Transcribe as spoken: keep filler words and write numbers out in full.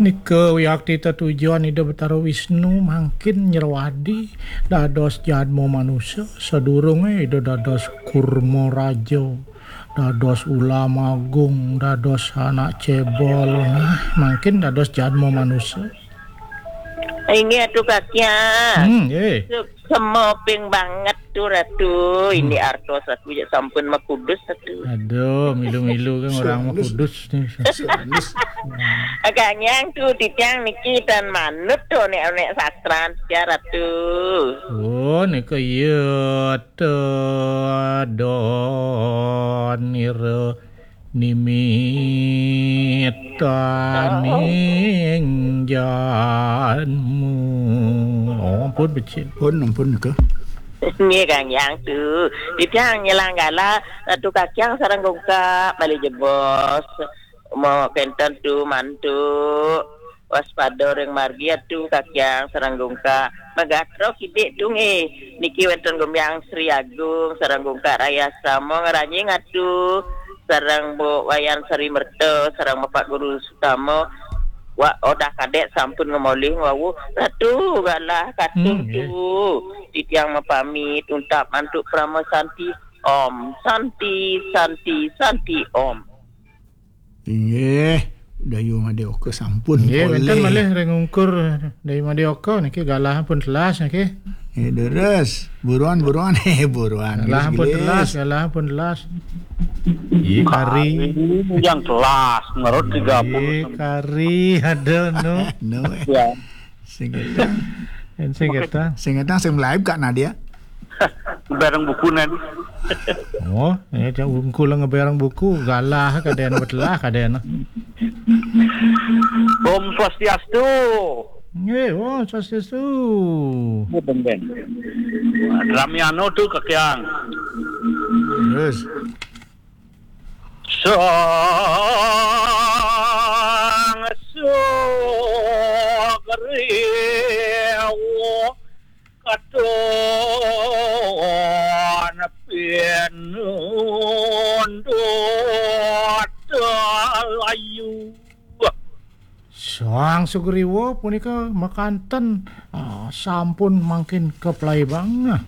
Nika wiakti tetujon Ida Betara Wisnu mangkin nyerwadi dados jadma manusa, sadurunge Ida dados Kurma Raja, dados Ulam Agung, dados anak cebol, nah, mangkin dados jadma manusa. Inggih Ratu Kakyang. Hmm, eh. Suksma ping banget tu Ratu. Ini Hmm. artos aku ya sampun makudus Ratu. Aduh, milu-milu kan orang Sandus. Makudus ni. Sandus. Kakyang tu titiang niki tan manut tu nek-nek sastran ya Ratu. Oh, nika iya ta donira nimitaning janmu. Oh, ampun, becik. Pun, ampun, ke? Nggih, Kang Yang tu. Titiang nyelang galah Ratu Kakyang sareng Gungkak malih jebos. Mau kenten tu mantu. Waspada ring margi Atu Kakyang sareng Gungkak. Magatra kidik tu nggih. Niki wenten Gumbyang Sri Agung sareng Gungkak Raya Samo ngranjing Atu. Sareng Bu Wayan Sri Merta sareng Bapak Guru Sutama. Wa odah kadek sampun ngemolih wau. Ratu galah katuh Hmm, nggih. Tu. Titiang mapamit untap mantuk Parama Santi. Om Santi, Santi, Santi Om. Inggih, Dayu Madya Oka sampun Nggih, wenten polih. Malih ring ungkur Dayu Madya Oka niki galah pun telas niki. Eh, deres. Buruan, buruan. Eh, buruan. Galah pun telas, galah pun telas. Iya, kari. Kari yang telas, menurut tiga puluh. Iya, kari ada no. No, eh. Ya. Sing ketang. Sing ketang. Sing ketang, sing live Kak Nadia. Bareng buku nen. Oh, ya, cak ungkul ngebereng buku, galah kadena betelah kadena. Om Swastiastu. Nggih, oh, Swastiastu. Nggih, ben, ben. Ramiano tu Kakyang. Terus. Sang Sugriwa katon pinundut layu. Sang Sugriwa punika makanten, ah, sampun mangkin kaplaibang.